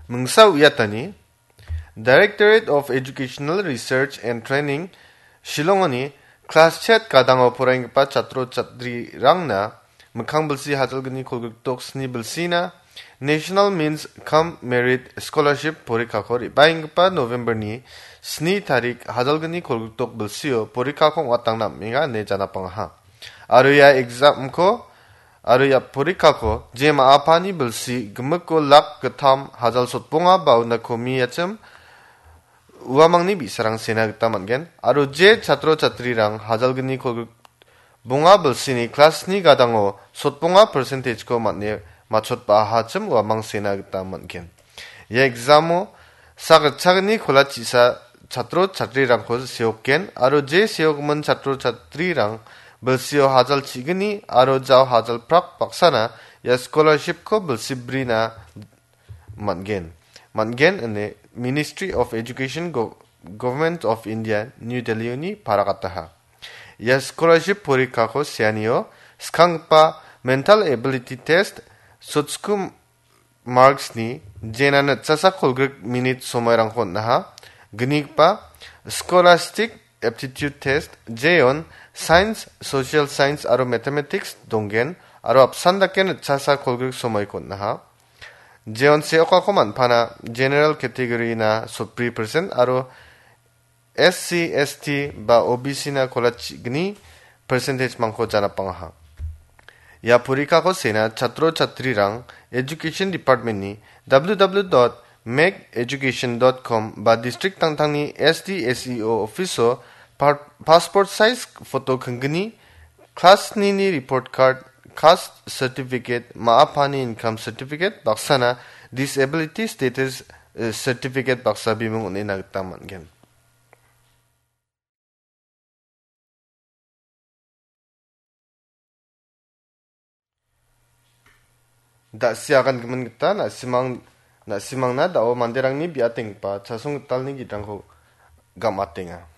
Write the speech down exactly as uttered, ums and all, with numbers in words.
Mingsa uiatani, Directorate of Educational Research and Training, Shillongoni klas chet gadango poraienggipa chatro chatrirangna mikkang bilsi hajalgni kolgrikdok sni bilsina National Means cum Merit Scholarship porikako re·baenggipa November-ni sni tarik hajalgni kolgrikdok bilsio porikako ong·atangna am·enga ine janapangaha. Aro ia exam-ko aro ia porikako je ma·apani bilsi gimikko lak gittam hajal sotbonga ba una komiachim uamangni bi·sarang sena gita man·gen. Aro je chatro chatrirang hajalgni kolgrik bonga bilsini klas sni gadango sotbonga percentage-ko man·e matchotba·ahachim uamang sena gita man·gen. Ia exam-o sak ritchagni kola chisa chatro chatrirangko seokgen aro je seokgimin chatro chatrirang bilsio hajal chigni aro jao hajal prak baksana ia scholarship-ko bilsi brina man·gen. Man·gen ine Ministry of Education, Go-, Government of India, New Delhi-oni paragataha. Ia scholarship porikako seanio skanggipa mental ability test, sotsku marks-ni jena nitchasa kolgrik minit somoirangko on·aha. Gnigipa scholastic aptitude test, jeon science, social science aro mathematics donggen aro apsan dake nitchasa kolgrik somoiko on·aha. Jeon seokako man·pana general category-na sotbri percent aro S C, S T ba O B C-na kola chigni percentage-mangko janapangaha. Ia porikako sena chatro chatrirang Education Department-ni W W W dot make education dot com ba district tangtangni S D S E O office-o par-, passport size photo kingni, klas snini report card, caste certificate, ma·apani income certificate, baksana disability status, eh, certificate baksa bimung on·ena gita man·gen. Da·sia agangimin gita na·simang-, na·simangna da·o manderangni biatenggipa chasong gitalni gidrangko gam·atenga.